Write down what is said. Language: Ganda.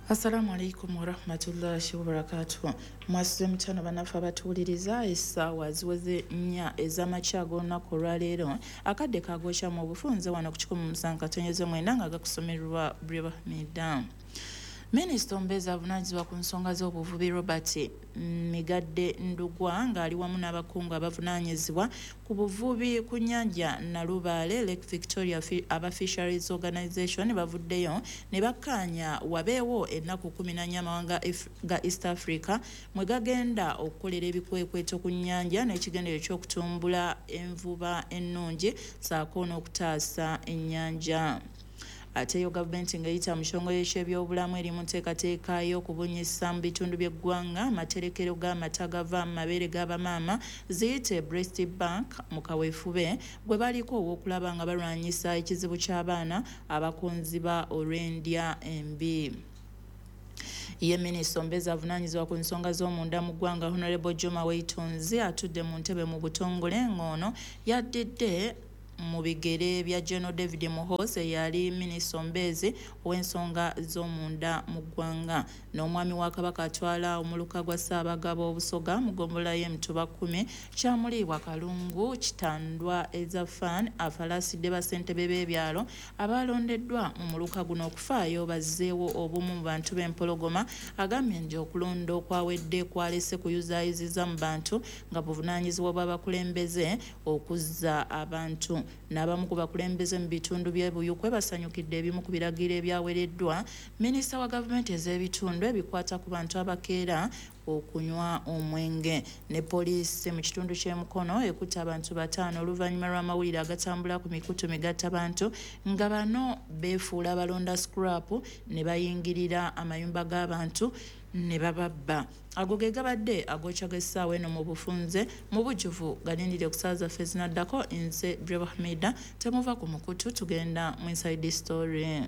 Assalamu alaikum warahmatullahi wabarakatuh. Mwasuze mutano bannaffe abatuwuliriza, essaawa ziweze 4 ez'amakya ag'olunaku olwaleero. Akadde kagokya mu bufunze wano ku 107.9 nga gakusomerwa Breba Hamida. Minisita omubeezi avunaanyizibwa ku nsonga z'obuvubi Robert Migadde Ndugwa ng'ali wamu n'abakungu abavunaanyizibwa ku buvubi ku nnyanja Nalubaale, Lake Victoria, aba Fisheries Organization bavuddeyo ne bakkaanya wabeewo ennaku 14 amawanga ga East Africa mwe gagenda okukolera ebikwekweto ku nnyanja n'ekigendererwa eky'okutumbula envuba ennungi ssaako n'okutaasa ennyanja. Ate yo gavumenti ng'eyita mu kitongole ky'ebyobulamu eri mu nteekateeka y'okubunyisa mu bitundu by'eggwanga amaterekero g'amata gava mu mabeere g'abamaama ziyite Breast Bank mu kaweefube gwe baliko ow'okulaba nga balwanyisa ekizibu ky'abaana abakonziba olw'endya embi. Ye minisita omubeezi avunaanyizibwa ku nsonga z'omunda mu ggwanga Honorable Juma Weitonzi atudde mu ntebe mu butongole ng'ono yaddidde mu bigere bya General David Muhoozi eyali minisita omubeezi ow'ensonga z'omunda mu ggwanga. N'omwami wa Kabaka atwala omuluka gwa Ssaabagabo Obusoga mu ggombolola y'Emituba 10 Kyamuliibwa Kalungu Kitandwa Ezafan afalaasidde bassentebe b'ebyalo abalondeddwa mu muluka guno okufaayo bazzeewo obumu mu bantu b'Empologoma. Agambye nti okulonda okwawedde kwalese kuyuzaayuziza mu bantu nga buvunaanyizibwa bw'abakulembeze okuzza abantu. N'abamu ku bakulembeze mu bitundu by'e Buyukwe basanyukidde ebimu ku biragiro ebyawereddwa minisita wa gavumenti ez'ebitundu ebikwata ku bantu abakeera okunywa omwenge. Ne poliisi mu kitundu ky'e Mukono ekutte abantu 5 oluvannyuma lw'amawulire agatambula ku mikutu migattabantu nga bano beefuula abalonda scrap ne bayingirira amayumba g'abantu ne bababba. Ago ge gabadde agokya g'essaawa eno mu bufunze mu bujjuvu galindire ku ssaawa zaffe ezinaddako. Nze Breba Hamida, temuva ku mukutu, tugenda mu Inside Story.